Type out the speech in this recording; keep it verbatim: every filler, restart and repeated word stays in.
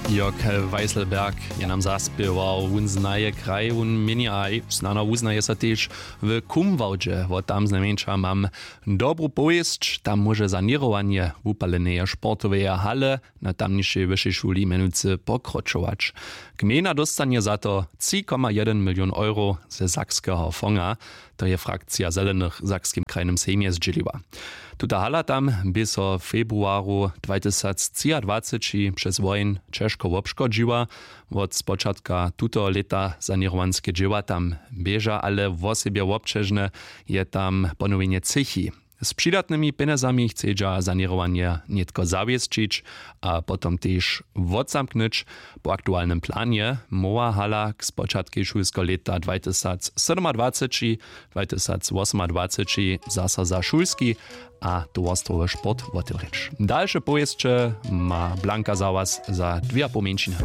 Jörg Weisselberg je nam zaspěwał. Wón znaje kraj, wón měni a snano wuznaje so tež w Kumwałdźe. Wot tam znajmjeńša mam dobru powěsć. Tam móže saněrowanje wupaleneje sportoweje hale na tamnišej wyšej šuli mjenujcy pokročować. Gmejna dóstanje za to tři koma jedyn milion euro ze sakskeho fonga. To je frakcija zelenych w sakskim krajnym sejmje zdźěliła. Tuta hala tam bě so w februaru dwatysactřiadwaceći přez woheń ćežko wobškodźiła. Wot spočatka tutoho lěta saněrowanske dźěła tam běža ale wosebje wobćežne. Je tam ponowjenje třěchi. Z přidatnymi pjenjezami chcedźa saněrowanje nětko zawěsćić a potom tež wotzamknyć. Po aktualnym planje móhła hala k spočatkej šulskeho lěta dwatysacsydomadwaceći dwatysacwosomadwaceći zaso za šulski a towarstwowy sport wotewrěć. Dalše powěsće ma blanka za was za dwě a poł mjeńšiny.